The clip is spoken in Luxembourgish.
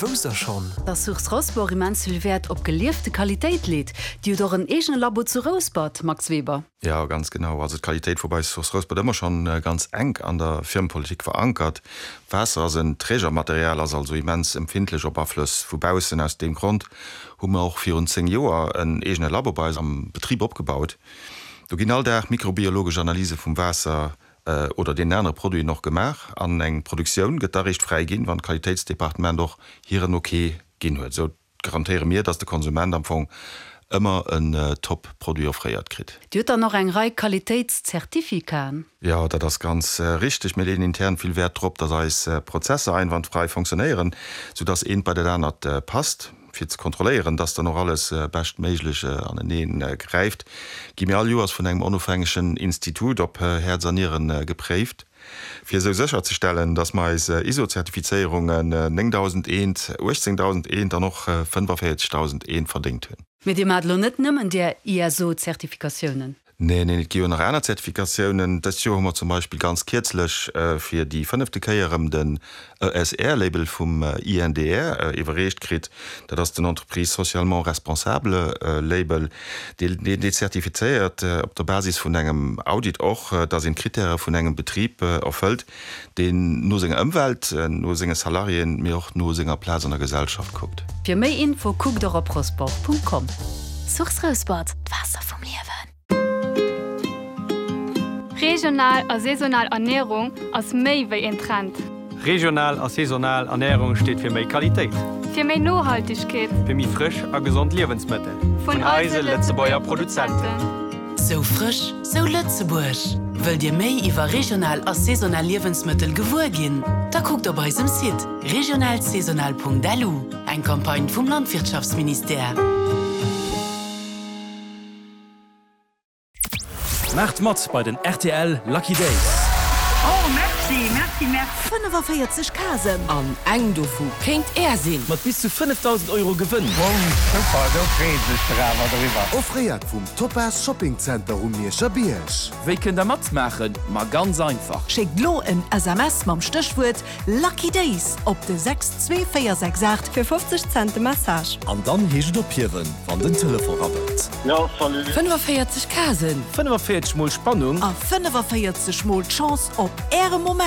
Wousst der schonn? Dass Source Rosport immens vill Wäert op geliefte Qualitéit leet. Dir hutt och en eegene Labo zu Rouspert, Max Weber. Jo, ganz genau. Also d'Qualitéit wor bei Source Rouspert ëmmer schonn ganz enk an der Firmepolitik verankert. Waasser ass en Trägermaterial, ass also immens empfindlech op Aflëss vu baussen. Aus deem Grond hu mer och virun 10 Joer en eegene Labo bei eis am Betrib opgebaut. Do ginn all Dag mikrobiologesch Analyse vum Waasser oder deenen anere Produiten och gemaach an eng Produktioun gëtt da réischt fräiginn, wann d'Qualitéitsdepartement och hiren Ok ginn huet. Esou garantéiere mir, dass de Konsument am Fong ëmmer en top Produit offréiert kritt. Dir hutt dann och eng Rei Qualitéitszertifikaen? Jo, dat ass ganz richteg. Mir leeën intern vill Wäert drop, dass eis Prozesser einwandfrei fonctionnéieren, sou dass eent bei dat anert passt. Fir ze kontrolléieren, dass dann och alles beschtméiglech aneneen gräift, gi mir all Joers vun engem onofhängegen Institut op Häerz a Nieren gepréift. Fir esou sécherzestellen, dass mer eis ISO-Zertifizéierungen 9001, 18001 an och 45001 verdéngt hunn. Mee Dir maacht elo net nëmmen där ISO-Zertifikatiounen? Neen, neen, et gi jo nach aner Zertifikatiounen. Dëst Joer hu mer zum Beispill ganz kierzlech fir déi fënnefte Kéier erëm den ESR-Label vum INDR iwwerreecht kritt. Dat ass den Entreprise socialement responsable Label. Deen dee zertifizéiert op der Basis vun engem Audit och, dass een d'Krittäre vun engem Betrib erfëllt, deen no senger Ëmwelt, no senge Salariéen, mee och no senger Plaz an der Gesellschaft kuckt. Fir méi Info kuckt och op rosport.com. Source Rouspert, d'Waasser vum Liewen. Regional a saisonal Ernierung ass méi wéi een Trend. Regional a saisonal Ernärung steet fir méi Qualitéit. Fir méi Nohaltegkeet. Fir méi frësch a gesond Liewensmëttel. Vun eise Lëtzebuerger Produzenten. Sou frësch, sou Lëtzebuerg! Wëllt Dir méi iwwer regional a saisonal Liewensmëttel gewuer ginn? Da kuckt op eisem Site regionalsaisonal.lu, eng Campagne vum Landwirtschaftsministère. Maacht mat bei den rtl Lucky Days! Oh merci, merci, merci. 45 Casen. An eng dovu kéint Är sinn! Mat bis zu 5.000 Euro Gewënn! Super, do freeë sech der awer driwwer. Offréiert vum Topaz Shopping Center um Mierscher Bierg. Wéi kënnt der matmaachen? Ma ganz einfach! Schéckt lo en SMS mam Stéchwuert Lucky Days op de 62468 fir 50 Cent de Message. An dann heescht et ophiewen, wann den Telefon rabbelt. Jo, salut. 45 Casen. 45 mol Spannung. A 45 mol d'Chance op Äre Moment.